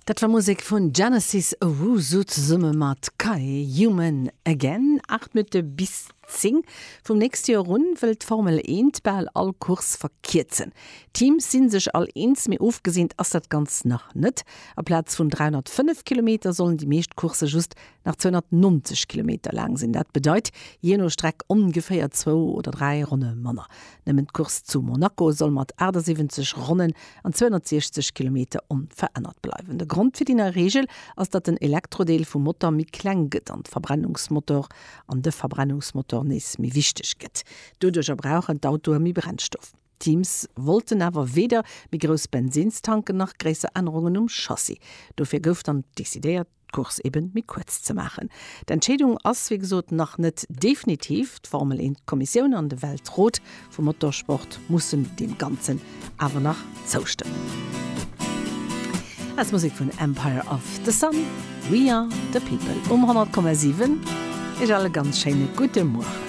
Dat war Musek vun Genesis Owusu zesumme mat Kai, Human Again. 8 Minutte bis 10. Vum nächste Joer un wëll d'Formel 1 bal all Course verkierzen. D'Teams si sech all eens, mee ofgeseent ass dat Ganzt nach net. Aplaz vun 305 Kilometer sollen déi meescht Coursse just nach 290 Kilometer laang sinn. Dat bedeit jee no Streck ongeféier zwou oder dräi Ronne manner. Nëmmen d'Course zu Monaco soll mat 78 Ronnen an 260 Kilometer onverännert bleiwen. De Grond fir déi nei Reegel ass, datt den Elektrodeel vum Motor méi kleng gëtt an d'Verbrennungsmotor an de Verbrennungsmotor nees méi wichteg gëtt. Doduercher brauchen d'Autoe méi Brennstoff. D'Teams wollten awer weder méi grouss Bensinnstanken nach gréisser Ännerungen um Chassis. Dofir gouf dann decidéiert, d'Course eben méi kuerz ze maachen. D'Entscheedung ass wéi gesot nach net definitiv. D'Formel 1 Kommissioun an de Weltrot vum Motorsport mussen deem Ganzen awer nach zoustëmmen. Aus Musek vun Empire of the Sun, We Are the People um 100,7. Iech all e ganz schéine gudde Mueren.